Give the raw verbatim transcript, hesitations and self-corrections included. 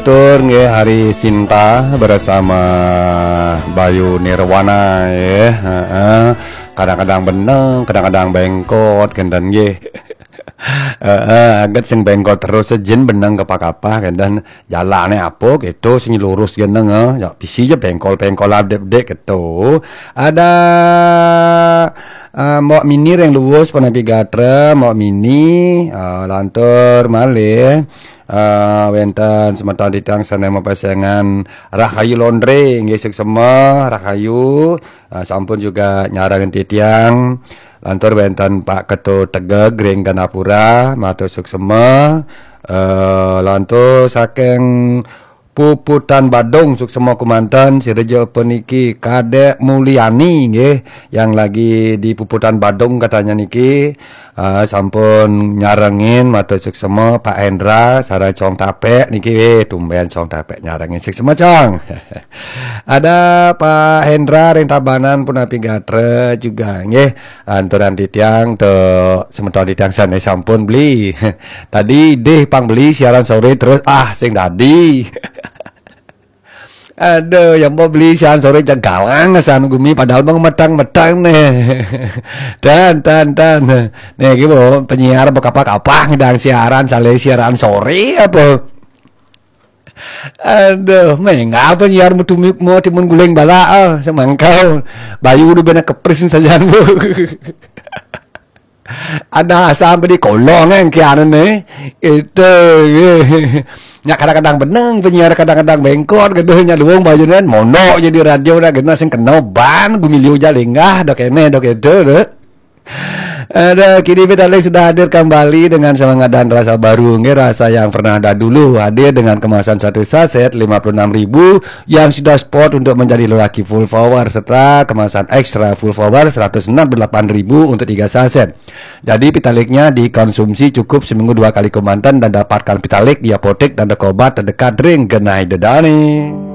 Tur nggih, hari Sinta bersama Bayu Nirwana, ya. Heeh. Kadang-kadang beneng, kadang-kadang bengkot, kenten nggih. Heeh, aget sing bengkot terus, jin beneng kapah-kapah, kenten. Jalane apa gitu, sing lurus geneng, eh. Ya, bisi aja bengkol-bengkol adik-adik gitu. Ada eh, Mbok Mini ring Luwus, punapi gatra, Mbok Mini, eh, lantur malih, eh, wenten semeton titiang sane mapesengan Rahayu Laundry, nggih, suksema, Rahayu, eh, sampun juga nyarengin titiang. Lantur wenten Pak Ketu Tegeg ring Ganapura, matur suksema. Eh, lantur saking Puputan Badung, suksema kemanten, sira ja puniki Kadek Mulyani, nggih, yang lagi di Puputan Badung katanya niki. Ah, sampun nyarengin, matur suksema Pak Hendra, sareng Cong Tapek niki, eh, tumben Cong Tapek nyarengin, suksema, Cong. Ada Pak Hendra ring Tabanan, punapi gatra juga, nggih. Anturan titiang, to semeton titiang sane sampun beli. Tadi deh pang beli siaran sore terus, ah, sing dadi. Aduh, yang mau beli siaran sore jagalang san gumi, padahal mau metang-metang nih. Dan, dan, dan. Nih, gitu, penyiar apa kapah-kapah ngedang siaran, saleh siaran sore apa? Aduh, menga penyiar mutu mau timun guling bala, ah, semangkau. Bayu udah bener kepris saja, Bu. Ada asam di kolong, eh, kianan nih. Itu, eh. Nya kadang-kadang beneng penyiar, kadang-kadang bengkot, gitu, nya luung bayunan, mono jadi radio dah, gitu, sing kena ban, gumiliu ja linggah, dok kene, dok itu, dok. Ada, kini Vitalis sudah hadir kembali dengan semangat dan rasa baru, nggih, rasa yang pernah ada dulu, hadir dengan kemasan satu saset lima puluh enam ribu yang sudah spot untuk menjadi lelaki full power, serta kemasan ekstra full power seratus enam puluh delapan ribu untuk tiga saset. Jadi, Vitaliknya dikonsumsi cukup seminggu dua kali kemanten dan dapatkan Vitalik di apotek dan toko obat terdekat ring genah ida dané.